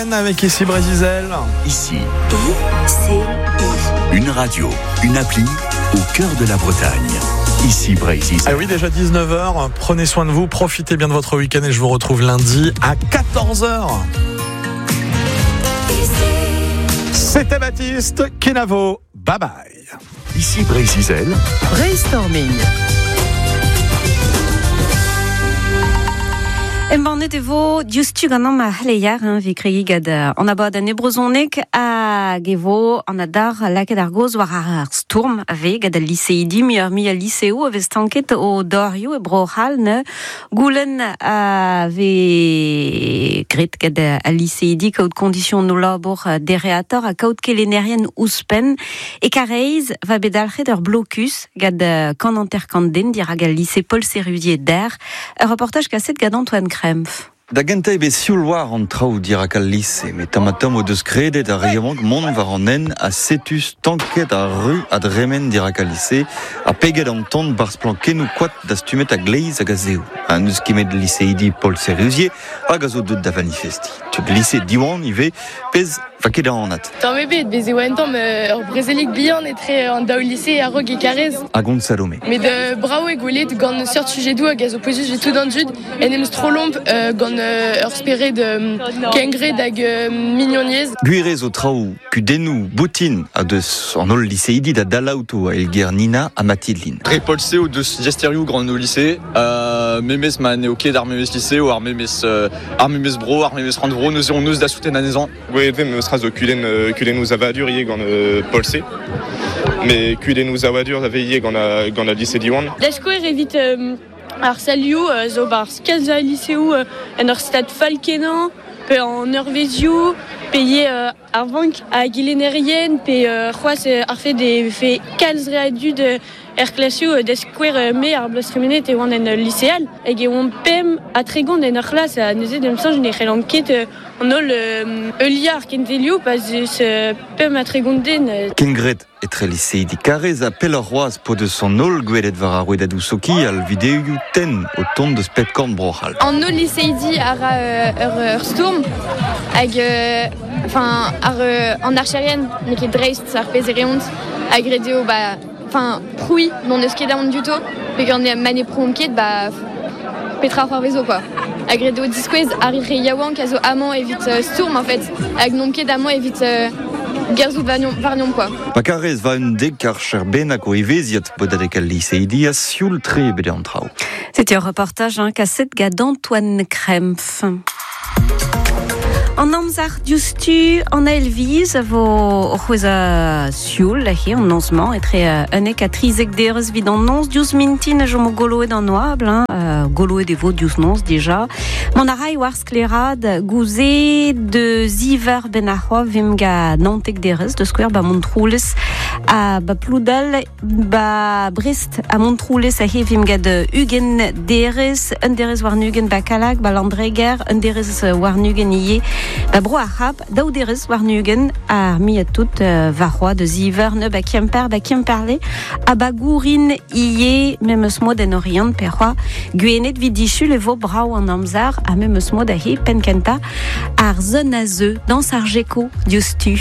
Avec ici Brésil. Ici. I-C-I. Une radio, une appli au cœur de la Bretagne. Ici Brésil. Ah oui, déjà 19h. Prenez soin de vous, profitez bien de votre week-end et je vous retrouve lundi à 14h. C'était Baptiste, Kenavo. Bye bye. Ici Brésil. Brainstorming. Embannet e vo diouzhtu gant ar c'hleier, hein, evit kregiñ gant an abadenn e brezhoneg hag e vo an adar lakaet ar gaoz war ar stourm a vez gant al liseidi muioc'h mui al liseoù a vez stanket o dorioù e Bro-C'hall ne goulenn a vez graet gant al liseidi kaout kondisionoù labour dereatoc'h ha kaout kelennerien ouzhpenn. E Karaez va bet dalc'het ur blokus gant 150 den dirak al lise Paul Sérusier d'Er. Ur reportaj kaset gant Antoine Krempf. Da gentañ eo bet sioul war an traoù dirak al lise, met tamm-ha-tamm o deus kredet ar re yaouank mont war an hent ha setu stanket ar ru a dremen dirak al lise ha peget an tan 'barzh plankennoù koad dastumet a-gleiz hag a-zehou. Ha n'eus ket met liseidi Paul Sérusier hag a zo deuet da vanifestiñ. Tud lise Diwan ivez, pezh Va ket anat. Tamm ebet, bez e oa un tamm ur brezelig bihan etre an daou lise a-raok e Karez. Hag on Salome. Met brav eo gwelet gant seurt sujedoù hag a zo pouezus evit tout an dud en em strollomp gant ur spered kengred hag mignoniezh. Gwir eo zo traoù kudennoù boutin a deus an holl liseidi da dalañ outo a eilger Nina ha Mathilde. Dre Paul-C o deus diasterioù gant o lise, memes ma n'eo ket ar memes lise ou ar memes, ar memes bro, ar memes rannvro, neuze on eus da souten anezhañ. Gwelet vez memes tra zo kudenn kudennoù savadur ivez gant Paul-C. Mais kudennoù savadur a vez ivez gant gant al lise Diwan. Da skouer evit ar salioù zo 'barzh kalz a liseoù en ur stad fall-kenañ pe an eurvezhioù pe ivez ar vank a gelennerien pe c'hoazh ar fed e vefe kalz re a dud Er klasoù da skouer me ar bloaz tremenet e oan en ul lise all hag e oamp 35 en ur c'hlas ha neuze d'am soñj ne c'hellan ket an holl heuliañ ar kentelioù pa 'z eus 35 den. Kengred etre liseidi Karrez ha pelloc'h c'hoazh p'o deus an holl gwelet war ar rouedadoù sokial videoioù tenn o tont deus pep korn Bro-C'hall. An holl liseidi a ra ur stourm hag enfin ar an archerien n'eo ket dreist ar pezh e reont hag ret eo ba Enfin, prouiñ n'hon eus ket aon diouto, peogwir ma ne prouomp ket, ba petra c'hoarvezo quoi. Hag ret eo diskouez ar re yaouank a zo amañ evit stourm en fait, hag n'omp ket amañ evit gerzhout warnomp quoi. Pa karez va un dek archer bennak o evezhiat bodadeg al liseidi ha sioul-tre eo bet an traoù. C'était un reportage hein, kaset gant Antoine Krempf. An amzer diouzhtu an eil viz a vo o c'hwezhañ sioul aze an noz-mañ etre 11 ha 13 derez evit an noz diouzh mintin a chomo goloet an oabl hein, goloet e vo diouzh noz dija. Mont a ray war sklaeraat gouze de ziver benn ar c'hoaz vimp ga 19 derez da skouer ba Montroulez ha ba Ploudal Ba Brest ha Montroulez aze vimp gant 20 derez, un derez warn-ugent ba Kallag, ba Landreger, un derez warn-ugent ivez ba Bro ar C'hab, daou derez warn-ugent ar muiañ tout warc'hoazh da ziver ne ba Kemper, ba Kemperle ha ba Gourin ivez memes mod en Oriant pe c'hoazh Gwened 'vit disul e vo brav an amzer ha memes mod aze penn kentañ ar zon a zeu dañs ar Gecko diouzhtu.